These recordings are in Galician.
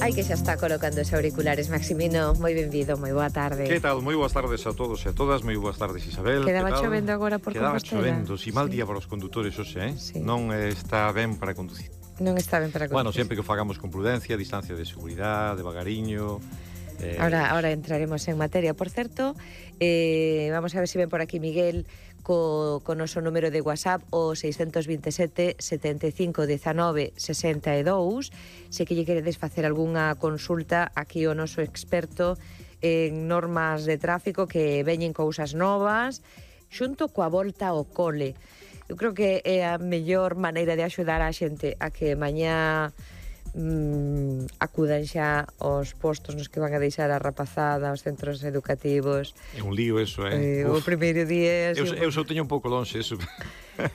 Ai que xa está colocando os auriculares, Maximino, moi benvido, moi boa tarde. Que tal? Moi boas tardes a todos e a todas, moi boas tardes, Isabel. Quedaba chovendo agora por Quedaba Compostela. chovendo, si mal día para os condutores hoxe, Sí. Non está ben para conducir. Non está ben para conducir. Bueno, sempre que o fagamos con prudencia, distancia de seguridade, devagariño. Ahora entraremos en materia. Por certo, vamos a ver se ven por aquí Miguel co noso número de WhatsApp, o 627 75 19 62. Se que lle queredes facer algunha consulta, aquí o noso experto en normas de tráfico, que veñen cousas novas xunto coa volta ao cole. Eu creo que é a mellor maneira de axudar a xente a que mañá acudan xa aos postos nos que van a deixar a rapazada, aos centros educativos. É un lío eso, O primeiro día... Eu só teño un pouco lonxe eso.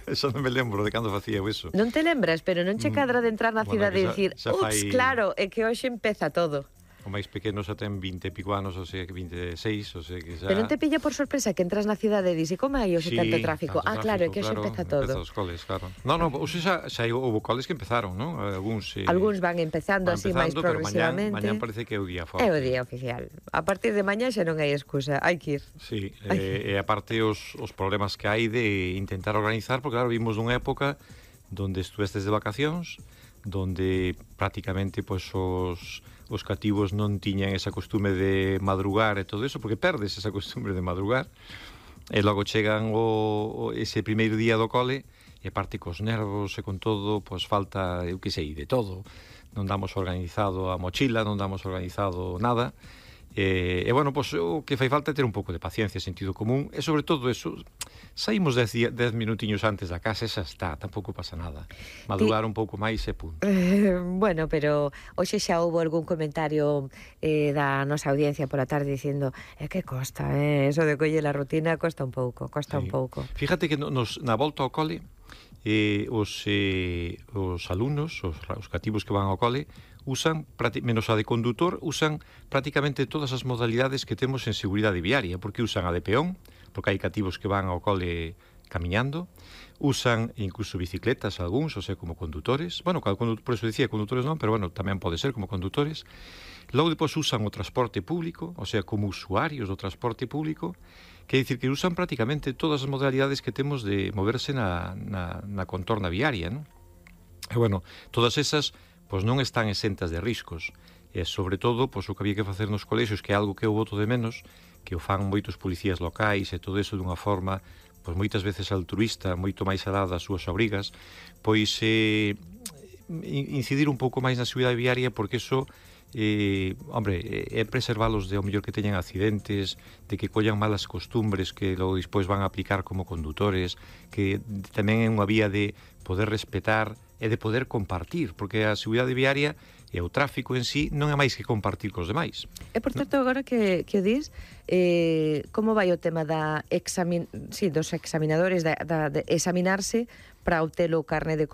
Eso non me lembro de cando facía eso. Non te lembras, pero non che cadra de entrar na cidade e dicir, ups, claro, é que hoxe empeza todo. O máis pequeno xa ten 20 e pico anos, o sea que 26, o sea que xa... Pero non te pilla por sorpresa que entras na cidade e dices, como hai hoxe tanto tráfico? Claro, é que hoxe empeza todo. Empeza os coles, claro. Non, hoxe xa houve coles que empezaron, non? Algúns van empezando así máis progresivamente. Mañán parece que é o día forte. É o día oficial. A partir de mañá xa non hai excusa, hai que ir. Sí, e aparte os problemas que hai de intentar organizar, porque claro, vimos dunha época donde estuvestes de vacacións, donde prácticamente pois os cativos non tiñan esa costume de madrugar e todo eso, porque perdes esa costume de madrugar, e logo chegan ese primeiro día do cole, e parte cos nervos e con todo, pois falta, eu que sei, de todo. Non damos organizado a mochila, non damos organizado nada, e bueno, pois o que fai falta é ter un pouco de paciencia, sentido común, e sobre todo eso, saímos 10 minutiños antes da casa, esa está, tampouco pasa nada. Madrugar un pouco máis e punto. Bueno, pero hoxe xa houve algún comentario da nosa audiencia pola tarde dicindo, que costa, eso de colle la rutina costa un pouco, un pouco. Fíjate que na volta ao cole, os alumnos, os cativos que van ao cole, usan, menos a de condutor, usan prácticamente todas as modalidades que temos en seguridade viaria, porque usan a de peón, porque hai cativos que van ao cole camiñando, usan incluso bicicletas algúns, o sea, como condutores, bueno, por eso dicía condutores non, pero bueno, tamén pode ser como condutores. Logo depois usan o transporte público, o sea, como usuarios do transporte público, que é dicir que usan prácticamente todas as modalidades que temos de moverse na contorna viaria, non? E bueno, todas esas pois non están exentas de riscos, e sobre todo, pois o que había que facer nos colexios, que é algo que eu boto de menos, que o fan moitos policías locais e todo eso dunha forma, pois moitas veces altruista, moito máis alada das súas obrigas, pois incidir un pouco máis na seguridade viaria, porque eso é preservalos de ao mellor que teñan accidentes, de que collan malas costumbres que logo despois van a aplicar como condutores, que tamén é unha vía de poder respetar e de poder compartir, porque a seguridade viaria e o tráfico en sí non é máis que compartir cos demais. E por certo, agora que o dis, como vai o tema dos examinadores, de examinarse para obter o carné de